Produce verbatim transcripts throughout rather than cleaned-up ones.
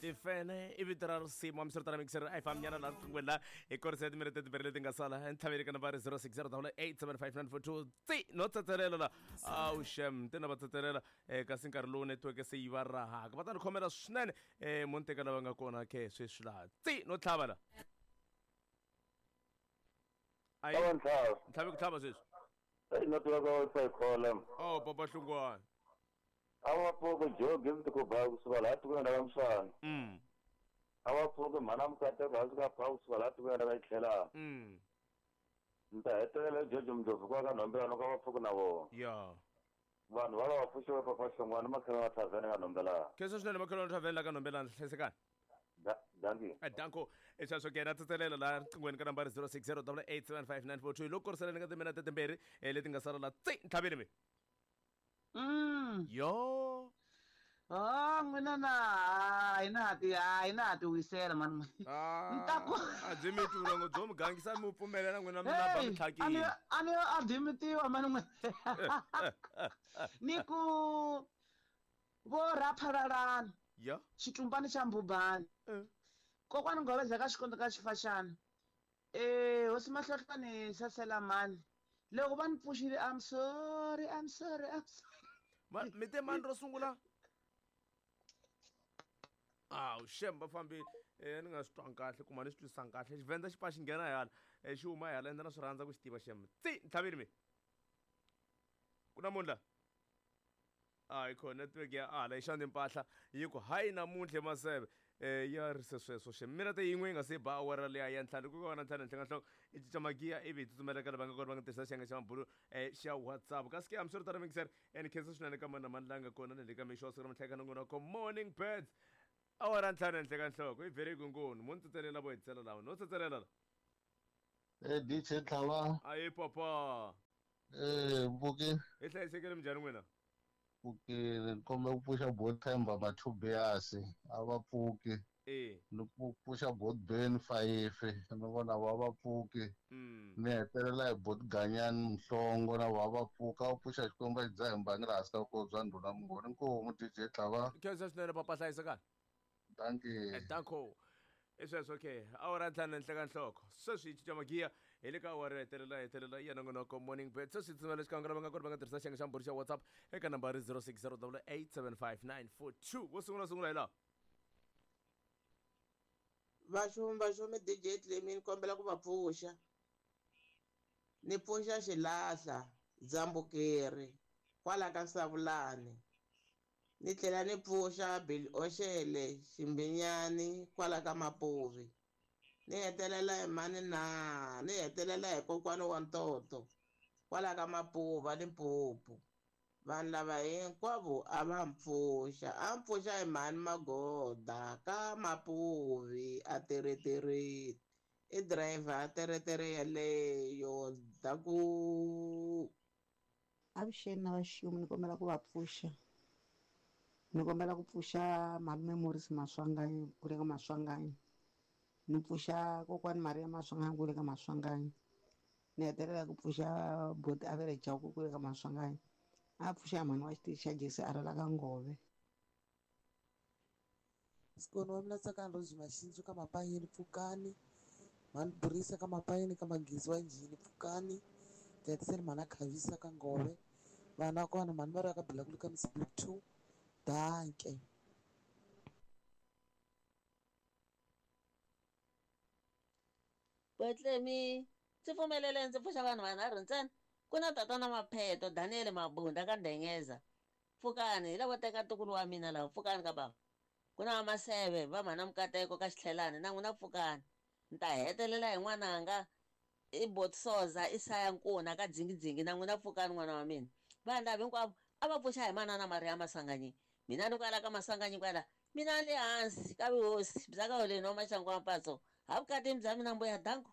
Tifene i vito ra risimu hambiswiritano mixer a hi fambinyana laha riqinghweni laha hi korisa timinete timbirhi leti nga sala ntlhaveni ka nambara zero six zero double eight seven five nine four two tsi no tsetselela la awu xem te na va tsetselela um kasi nkarhi lowu netiweke se yi va rahaka va ta ni khomela swinene um mo ni teka lava nga kona ke sweswi laha tsi no tlhava la ayi Awa ntlhava. ntlhavi ku tlhava sweswi Eyi network wa Wi-Fi khola. oh papa hlungwana A va pfuki jogi mi ku ba kusuka laha tikweni ra ka Mswana. mm A va pfuki mhana Mukateko hansi ka pha kusuka laha tikweni ra ka Xitlhelana. mm Ni ta hetelela George Mdlovu kwa ka Nhombelani ka va pfuki na vona. ya Vanhu va va va pfuxiwe papa Hlongwane makhelwani wa thavhene ka Nhombelani. khensa swinene makhelwani thavheni la ka Nhombelani hlayisekani Da- Dankie. Danko i sweswo ke na tsetselela laha riqinghweni ka nambara zero six zero double eight seven five nine four two loko koriseleni ka timinete timbirhi eh, leti nga sala la tsi ntlhaveni mi Mm. yo Ah, n'wina na hayi na ha ti hayi na ha ti wisela mani. Ntaku. a byi mi twi byo mi gangisa mi pfumelela n'wina mi na ba mi Hey, a ni tlhakile a ni a dimitiwa mani n'wina. Ni ku vo raphalalana ya xitumbani xa mbubani. Eh. Kokwani Ngobeza ka xikondo ka xifaxana. Eh, hosi Mahlohlwane sasela mani. Loko va ni pfuxile I'm sorry, I'm sorry, I'm sorry. Ma- mi te mani ro sungula awu xem va fambile um ni nga swi twangi kahle kuma ni swi twisisanga kahle xivenda xi pfa xi nghena hi hala um xi huma hi hala ende na swi rhandza ku xi tiva xem tsi ntlhaveni mi ku na munhu la hayi kho network ya ala yi xana mpahla yi ku hayi namuntlha maseve um ya ri se sweswo xem minete yin'we yi nga se ba awara liya ya ntlhanu ku ka na ntlhanu henhla ka nhloko i cinca magiya ivi hi tsutsumela ka lava nga kona va nga tirhisa xiyenge xa mabulu um xa WhatsApp kasi ke hambiswiritano mixer ni khensa swinene ka mani na mani la nga kona na le ka mixo wa siku ra namuntlha eka nongonoko Morning Birds awara ntlhanu henhla ka nhloko i very ngoni mo ni tsetselela vo hetisela lawa no tsetselela la Eh D J Tlhava, ayi papa eh Mpuki, hi hlayisekile minjhani n'wina pfukile ni kombela ku pfuxa Bot Themba Mathubiasi a va pfuki e ni ku pfuxa Bot Ben Fayifi ni vona va va pfuki mm ni hetelela hi Bot Ganyani Mhlongo na va va pfuka va pfuxa Xikwembu a xi dzaha mbangi laha hansi ka vukosi bya ndhuna Mungoni inkomu D J Tlhava khensa swinene papa hlayisekani dankie danko i sweswo okay awara ntlhanu henhla ka nhloko sweswi hi cinca magiya hi le ka awara yo hetelela hetelela ya nongonoko Morning Bird sweswi hi tsumela xikan'we lava nga kona va nga tirhisa xiyenge xa mbhuri xa WhatsApp eka nambara zero six zero eight seven five nine four two wo sungula sungula hi laha Vaxumi vaxumi D J Clemi ni kombela ku va pfuxa. Ni pfuxa xilahla Dzambukeri kwala ka Savulani. Ni tlhela ni pfuxa Bill Oshele Ximbinyani kwala ka Mapuvi. Ni hetelela hi mani na ni hetelela hi kokwani wa Ntoto kwala ka Mapuva Limpopo. Vanhu lava hinkwavo a va mpfuxa a mpfuxa hi mhani Magoda ka Mapuvi a teretereni i driver a teretere yeleyo daku. Avuxeni na vaxumi ni kombela ku va pfuxa ni kombela ku pfuxa malume Morris Maswanganyi ku le ka Maswanganyi ni pfuxa kokwani Maria Maswanganyi ku le ka Maswanganyi ni hetelela ku pfuxa boti Avele Jauku ku le ka Maswanganyi a pfuxa mhani wa xitichi xa Jesi a rila ka Ngove. Sikoni wa mina Tsakani Rose Mashinzu ka Mapayeni pfukani mhani Burisa ka Mapayeni ka Magezi wa njhini pfukani Jackson mhana Khavisa ka Ngove vana kona mhani va ri ka Bilakulu ka Miss Block two danke. Botlemi ndzi pfumelele ndzi pfuxa vanhu vanharhu ntsena ku na tatana Mapheto Daniel Mabunda ka Ndengeza pfukani hi lavo teka ntukulu wa mina lawa pfukani ka bava ku na Maseve va mhana Mukateko ka Xitlhelani na n'wina pfukani ni ta hetelela hi n'wananga i Botsoza Isaya Nkuna ka Dzingidzingi na n'wina pfukani n'wana wa mina vanhu lava hinkwavo a va pfuxa hi manana Maria Masanganyi mina ni kwala ka Masanganyi kwala mina le hansi ka vuhosi bya ka holeni wa Maxangu wa Mpatso ha vukatini bya mina mbuya danko.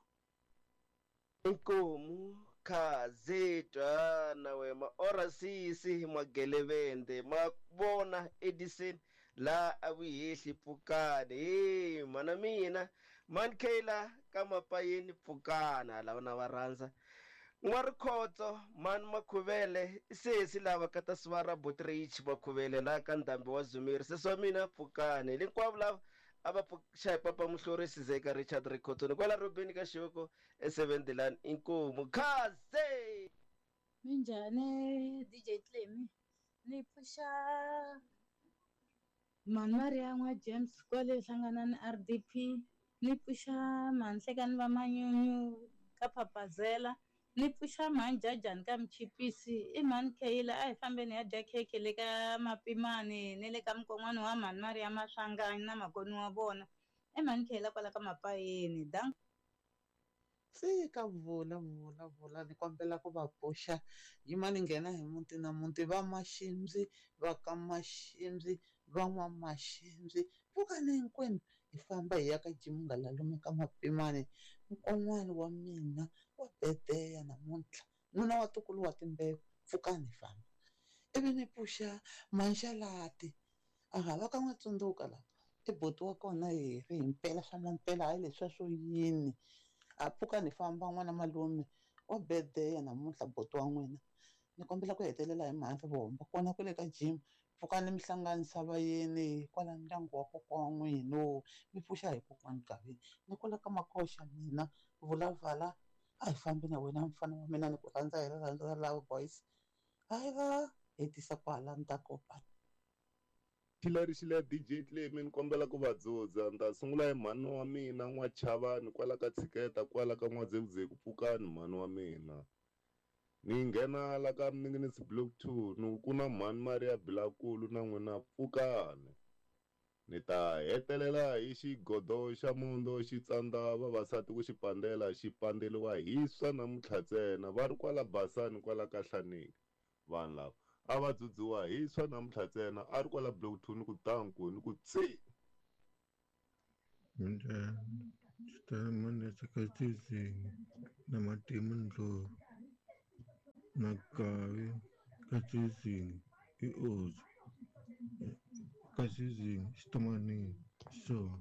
Inkomu khazetwa na wema ora sisi magelevende ma vona Edison la a vuyehli pfukani he mana mina man Kayla ka Mapayeni pfukana lava na va rhandza N'warikhotso mani Makhuvele sesi lava ka ta sivara Botrich Makhuvele la ka ndhambi wa Zumiri sesi wa mina pfukani hinkwavo lava A va pfuxa hi papa Muhlorisi Zeka Richard Rikhotoni kwala Robeni ka Xivoko e seven Dilan inkomu khaze. Minjhani D J Clemi, ni pfuxa Mhani Maria n'wa James kwale hlanganani R D P, ni pfuxa Mhanhlekani va Manyunyu ka Papazela, ni pfuxa Mhani Jajani ka Mchipisi, i Mhani Kheyila a hi fambeni ya dya khekhe le ka Mapimani ni le ka mukon'wana wa Mhani Maria Maswanganyi na makoni wa vona, i Mhani Kheyila kwala ka Mapayeni. Dank. Tsika vula vula vula ni kombela ku va pfuxa yima ni nghena hi muti na muti va Maximbi va ka Maximbi va n'wa Maximbi pfukani hinkwenu hi famba hi ya ka Jimunghalalume ka Mapimani nkon'wana wa mina wa bedeya namuntlha nuna wa ntukulu wa timbewu pfukani hi famba ivi ni pfuxa Manxalati aha va ka n'wa tsundzuka la i buti wa kona hi ri himpela swa mampela hayi leswiya swo yini a pfuka ni famba n'wana malume wa bedeya namuntlha buti wa n'wina ni kombela ku hetelela hi mhani Rivombo kona kwale ka gym pfukani mi hlanganisa vayeni kwala ndyangu wa kokwa wa n'wina mi pfuxa hi kokwani Gaveni ni kwala ka Makoxa mina vulavala a hi fambi na wena mfana wa mina ni ku rhandza hi rirhandzu ra love boys hayi va hetisa kwala ni ta kopa. Xilari xile D J Clemi ni kombela ku va dzudza ni ta sungula hi mhani wa mina N'wachavani kwala ka Tshiketa kwala ka N'wadzekuzeku pfukani mhani wa mina ni nghena la ka Mninginisi Block two ni ku na mhani Maria Bilakulu na n'wina pfukani ni ta hetelela hi xigodo xa mundo xi tsandza vavasati ku xi pandela xi pandeliwa hi swa namuntlha ntsena va ri kwala Basani kwala ka Hlaneki vanhu lava a va dzudziwa hi swa namuntlha ntsena a ri kwala Block two ni ku danku ni ku tsi. Minjhani xitatimende xa ka Tsizingi na Matimu Ndlovu na Gavi ka Tsizingi i Ozi ka Tsizingi xitomanini so.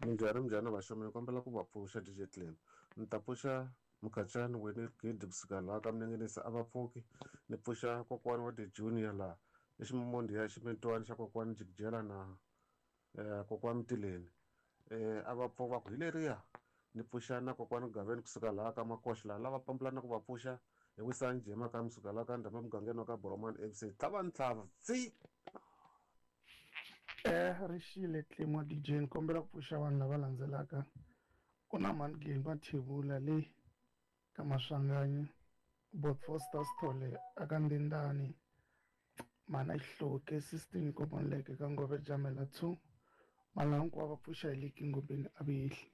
Minjhani minjhani vaxomi ni kombela ku va pfuxa D J Clemi ni ta pfuxa Mukachani wena gidi kusuka laha ka Mninginisi a va pfuki ni pfuxa kokwani wa the junior laha i ximomondi ya ximitwani xa kokwani Jikijela na eh, kokwani Mtileni eh, a va pfuka va ku hi leriya ni pfuxa na kokwani Gaveni kusuka laha ka Makoxa laha lava pambulana ku va pfuxa hi Wisani Jema ka musuka laha ka Ndhamba mugangeni wa ka Boromani F C tlhava ntlhava tsi. Eh rixile Clemi wa D J ni kombela ku pfuxa vanhu lava landzelaka ku na Mhani Geni Mathebula le ka Maswanganyi Bot Foster Sithole aka Ndindani Mana Xihloke sixteen Komonleke ka Ngove Jamela two Malangu hinkwavo va pfuxa hi le Kingobeni a vihli.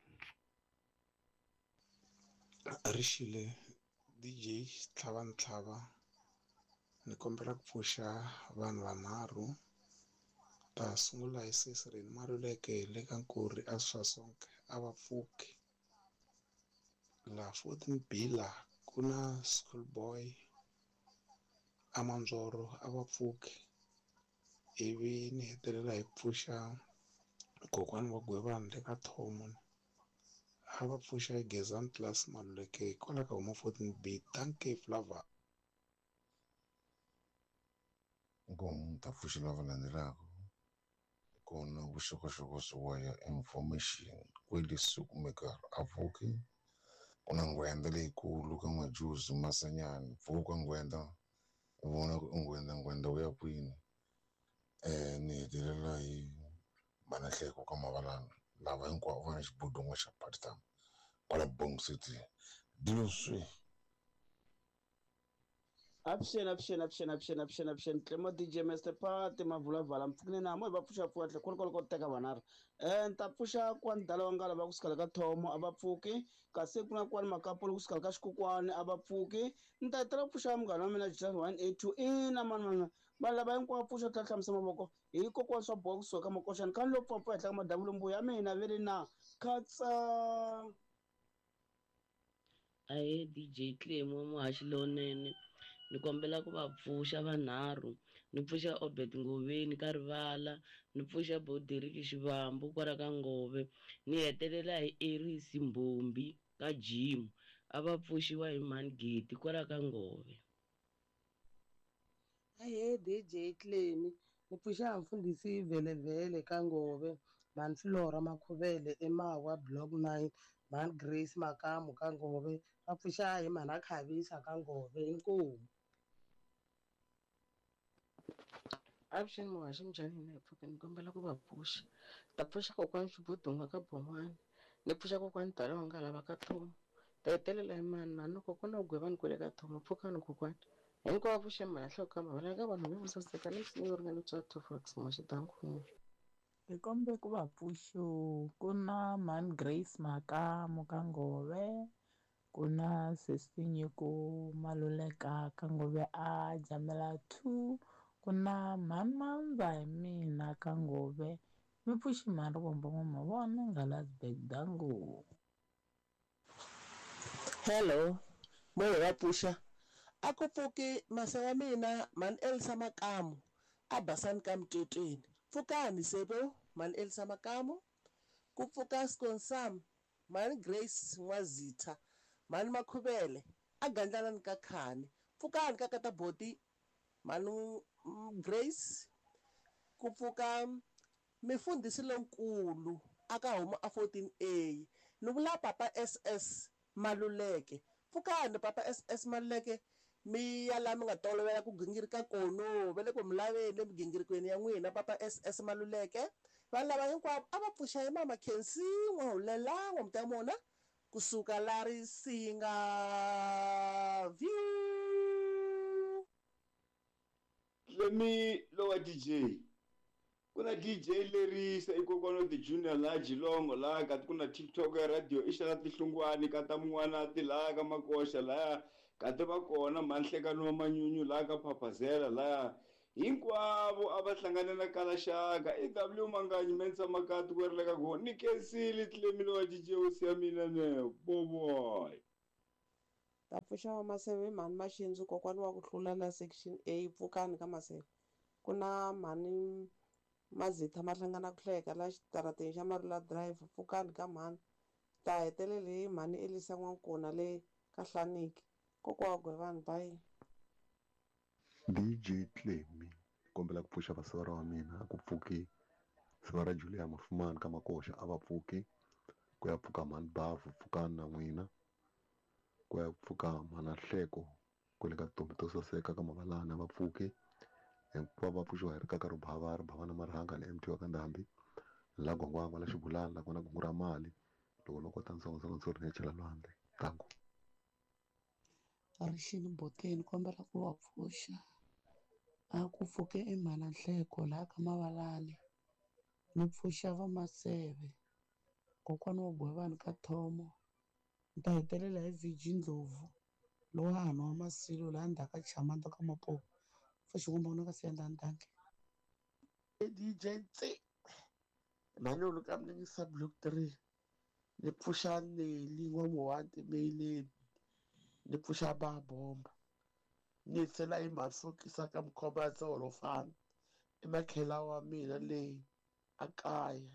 Rixile D J Tlhava Ntlhava ni kombela ku pfuxa vanhu vanharhu ta sungula hi sesi Reni Maluleke le ka Nkuri a Swasonke a va pfuki la fourteen B la ku na schoolboy a Mandzoro a va pfuki ivi ni hetelela hi ku pfuxa kokwani wa Gwevani le ka Thomo a va pfuxa hi Gezani Class Maluleke kwala ka huma fourteen B dankie Flava. Nkomu ta pfuxa lava landzelaka kona vuxokoxoko swi ya information kwele swi kumeka a pfuki ku na nghwenda leyikulu ka N'wajuzi Masanyani pfuka nghwenda u vona ku i nghwenda nghwenda wu ya kwini eh ni hetelela hi Manahleko ka Mavalana lava hinkwavo va na xibodongo xa part time kwala Bong City dilo swi. Avuxeni avuxeni avuxeni avuxeni avuxeni avuxeni Clemo D J Mister Party Mavulavala mpfukini na mo hi va pfuxa pfuka tlhe kwala kwala ko teka vanharhu eh ni ta pfuxa kwani dala wa ngala va kusukela ka Thomo a va pfuki kasi ku na kwani Makapolo kusukela ka Xikokwani a va pfuki ni ta hetelela ku pfuxa munghana wa mina Jazz one eight two ina mani mani vanhu lava hinkwavo pfuxa tlhela hlamusa mavoko hi kokwana swa boha kusuka ka Makoxani kha ni lo pfapfa henhla ka madamu mbuya ya mina ve ri na khatsa. Ahee D J Clemi muhaxi lowunene ni kombela ku va pfuxa vanharhu ni pfuxa Obed Ngoveni ka Rivala ni pfuxa Boderiki Xivambu kwala ka Ngove ni hetelela hi Erisi Mbombi ka Jim a va pfuxiwa hi Mhani Geti kwala ka Ngove. Ahee D J Clemi ni Ni pfuxa mfundhisi Vhelevhele ka Ngove, mhani Flora Makhuvele eMawa Block nine, mhani Grace Makamu ka Ngove, va pfuxa hi mhani Khavisa ka Ngove. Inkomu. Avuxeni muhaxi minjhani hina hi pfuke ni kombela ku va pfuxa. Ta pfuxa kokwani Xibudunga ka Bon'wana, ni pfuxa kokwani Dala wa nga lava ka Thomo. Ta hetelela hi mani mani kokwana wa Gwevani kwale ka Thomo, pfukani kokwani. Hinkwavo pfuxeni mhani nhloko ka mavele ka vanhu vo saseka ni msinya ringana bya two fox muhaxi dankumu. Hi kombe ku va pfuxo ku na mhani Grace Makamu ka Ngove, ku na sesi Nyiko Maluleka ka Ngove a Jamela two, ku na mhani Mandza hi mina ka Ngove. Mi pfuxi mhani Rivombo N'wamavona Ngalasberg dango. Hello, moya wa pfuxa. A ku pfuki masa wa mina mhani Elsa Makamu a basani ka Mtetweni. Pfukani sebo mhani Elsa Makamu. Ku pfuka Skonsam mhani Grace N'wazitha mhani Makhuvele a Gandlalani ka Khani. Pfukani ka Kataboti mhani Grace. Ku pfuka mifundhisi lonkulu aka huma a fourteen A ni vula Papa S S Maluleke. Pfukani Papa S S Maluleke, mi ya laha mi nga tolovela ku gingirika kono va le ku mi laveni emigingirikweni ya n'wina Papa S S Maluleke. Vanhu lava hinkwavo a va pfuxa hi mama Khensi N'wahulela N'wamtamona kusuka la Risinga View. Lemi lowa D J. Ku na D J lerisa i kokwana the Junior la Jilongo la ka ku na TikTok ya radio i xana tihlungwani ka ta mun'wana ti la ka Makoxa laya ka ti va kona manhlekano wa manyunyu la ka Phaphazela laya hinkwavo a va hlangane na Kalaxaka i W Manganyi Mensa Makati ku ri le ka go ni kensile Tlemile wa D J hosi ya mina ne boboy. Ta pfuxa wa Maseve mhani Maxindzu kokwana wa ku hlula la section A pfukani ka Maseve. Ku na mhani Mazitha ma hlangana ku hleka la xitarateni xa Marula Drive pfukani ka mhani. Ta hetelela hi mhani Elisa N'wankuna le ka Hlaniki. Kokwa wa Gwevani bye. D J Clemmy kombela ku pfuxa vasivara wa mina a ku pfuki sivara Julia Mafumani ka Makoxa a va pfuki ku ya pfuka mhani Bavu pfukani na n'wina ku ya pfuka mhana Hleko kwale ka tintombi to saseka ka Mavalani a va pfuki hinkwavo va pfuxiwa hi rikaka ro bava ri bava na marhanga ni M T wa ka Ndhambi la Gwangwangwa la Xibulani la kona kungu ra mali loko no kota ntsongo ntsongo ni ya chela lwandle tangu. Rixini Boteni kombela ku va pfuxa a ku pfuke i mhana Nhleko laha ka Mavalani ni pfuxa va Maseve kokwana wa Gwevani ka Thomo ni ta hetelela hi V G Ndlovu lowa a nwa Masilo laha ndzhaku ka Chamanda ka Mapopo pfuxi kumbe ka Siyandhani danke. D J Tse Manyolo ka Mlingisa Block three ni pfuxa Nelly N'wamuhati Meileni ni pfuxa Babomba ni tlhela hi masokisa ka Mkhomba Tsolofana i makhela wa mina leyi a kaya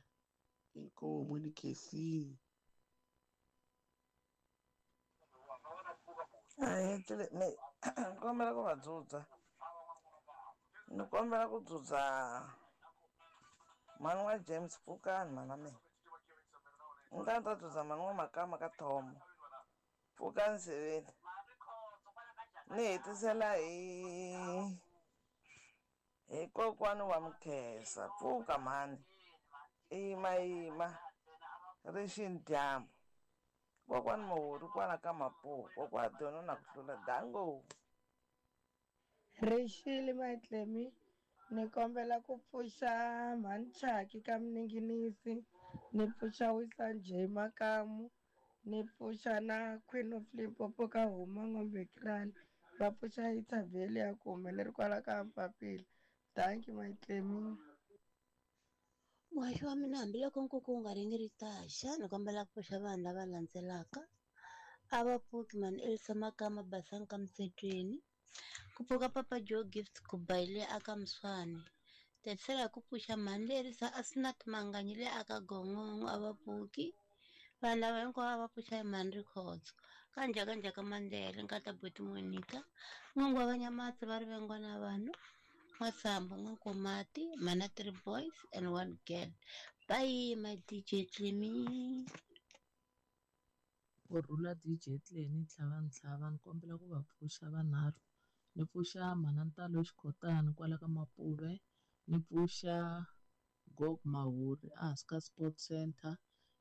inkomu ni khensini. Ahee ni kombela ku va dzudza ni kombela ku dzudza mhani wa James pfukani mhana mina ni ta ni ta dzudza mhani wa Makama ka Thomo pfukani Siveni ni hetisela hi hi kokwani wa Mkhesa pfuka mhani yima yima rixini dyambu kokwani Muhuri kwala ka Mapuku kokwa Dono na ku hlula dango. Rixile Matlemi ni kombela ku pfuxa mhani Chaki ka Mninginisi ni pfuxa Wisa J Makamu ni pfuxa na Queen of Limpopo ka Huma N'wambe Krani va pfuxa Itaveli ya ku humeleri kwala ka Mpapila. Thank you Matlemi. Muhaxi wa mina hambiloko nkuku wu nga ringi taxa ni kombela ku pfuxa vanhu lava landzelaka a va pfuki mhani Elsa Makama Basani ka Mtsetweni ku pfuka Papa Joe Gift Kubaile aka Mswane tetisela hi ku pfuxa mhani Lerisa Asnat Manganyi le aka Gongongo a va pfuki vanhu lava hinkwavo a va pfuxa hi mhani Rikhotso ka Njhakanjhaka Mandela nkata Buti Monica N'wangwa va Nyamatsi va Rivengwa na vanhu N'wasambu N'wankomati, mana three boys and one girl. Bye my D J Clemi. Ku rhula D J Clemi Ntlhava Ntlhava, ni kombela ku va pfuxa vanharhu. Ni pfuxa mhana Ntalo Xikhotani kwala ka Mapuve, ni pfuxa Gog Mahuri ehansi ka Sport Center,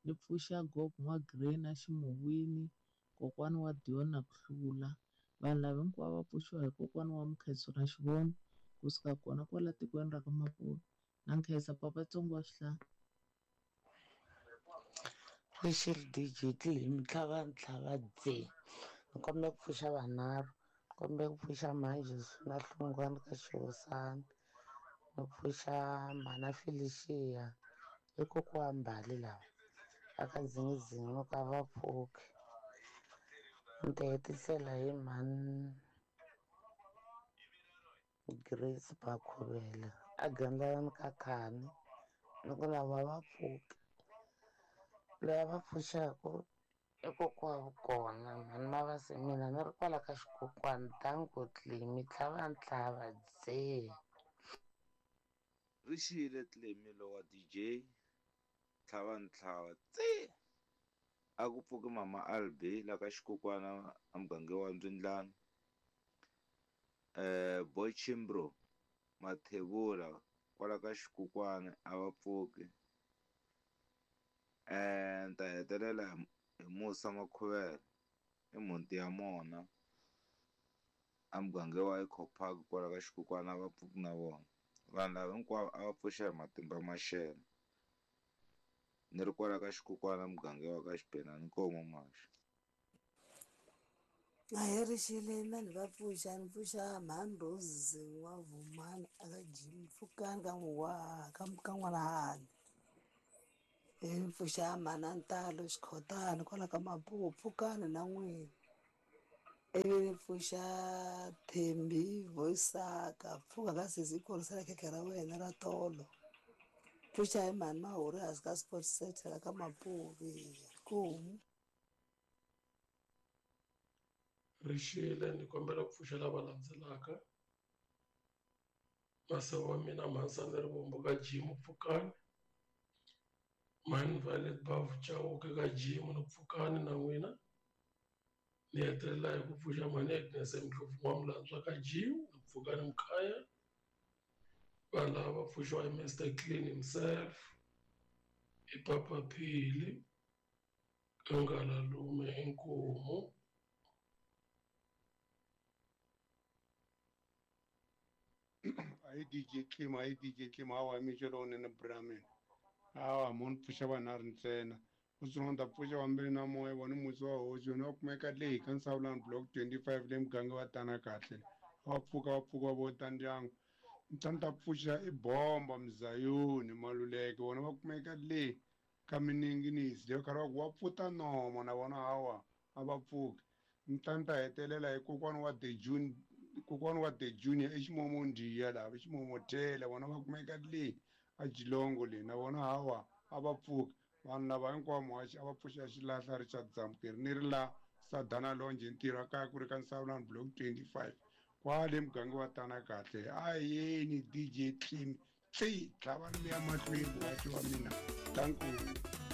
ni pfuxa Gog N'wa-Grey na Ximuwini, kokwani wa Dion na ku hlula. Vanhu lava hinkwavo va pfuxiwa hi kokwana wa Mukhenso na Xivono kusuka kona kwala tikweni ra ka Mapuve. Na nkhensa papa Tsongo wa Swihlahla. Rixile D J Clemi Ntlhava Ntlhava dze. Ni kombela ku pfuxa vanharhu. Ni kombela ku pfuxa Mhanjisi na Hlungwani ka Xihosana. Ni pfuxa mhana Felicia i kokwa Mbali lava aka Dzingizingi no ka va pfuki. Ni ta hetisela hi mhani Grace Bakhuvela a Gandlani ka Khani ni ku lava va pfuki. Loyi a va pfuxaka i kokwa wa kona mhani Mavasi mina ni ri kwala ka xikokwani danko Clemi Ntlhava Ntlhava dze. Rixile Clemi lowa D J Ntlhava Ntlhava tse. A ku pfuki mama Albi la ka xikokwana a muganga wa Mbyindlani. Eh Boy Chimbro Mathebula kwala ka xikokwana a va pfuki. Eh ni ta hetelela hi Musa Makhuvela i mhunti ya mona a muganga wa Eco Park kwala ka xikokwana a va pfuki na vona. Vanhu lava hinkwavo a va pfuxa hi matimba maxelo. Ni ri kwala ka xikokwana muganga wa ka Xibelani Nkomo Maxa. A hi rixile na ni va pfuxa ni pfuxa mhani Rose N'wavumani aka Jim Pfukani ka n'wa ka ka n'wana Hani. Ni pfuxa mhana Ntalo Xikhotani kwala ka Mapuve Pfukani na n'wina. Ivi ni pfuxa Thembi Voisaka pfuka ka sesi khorisela khekhe ra wena ra tolo. Pfuxa hi mhani Mahuri hansi ka Sports Center la ka Mapuve. Nkomu. Rixile ni kombela ku pfuxa lava landzelaka. Maseve wa mina Mhansani Rivombo ka Jim Pfukani. Mhani Violet Bavu Chauke ka Jim ni Pfukani na n'wina. Ni hetelela hi ku pfuxa mhani Agnes Ndlovu N'wamulandzwa ka Jim ni Pfukani Mkhaya. Vanhu lava va pfuxiwa hi Mister Clean himself, hi Papa Phili, ka Ngalalume Inkomu. Ayi D J Clem, ayi D J Clem, hawa mixo lowunene Brahman. Hawa mo ni pfuxa vanharhu ntsena. Ku sungula ni ta pfuxa vambirhi na moya vona musi wa hosi yona va kumeka leyi ka Nsawulani block twenty-five le muganga wa tana kahle. Va pfuka va pfuka vo ta ndyangu. Ni ta ni ta pfuxa i Bomba Mzayoni Maluleke vona va kumeka le ka Mininginisi leyo karhi va ku wa pfuta nomo na vona hawa a va pfuki. Ni ta ni ta hetelela hi kokwana wa The June kokwana wa The Junior eXimomondiya laha eXimomothela vona va kumeka le a Jilongo le na vona hawa a va pfuki. Vanhu lava hinkwavo muhaxi a va pfuxa xilahla Richard Zamukeri ni ri la Sadana Longe ntirho kaya ku ri ka Nsawulani block twenty-five kwale muganga wa tana kahle. A yeni D J Clem tsi tlhava ni ya mahlweni muhaxi wa mina. Thank you.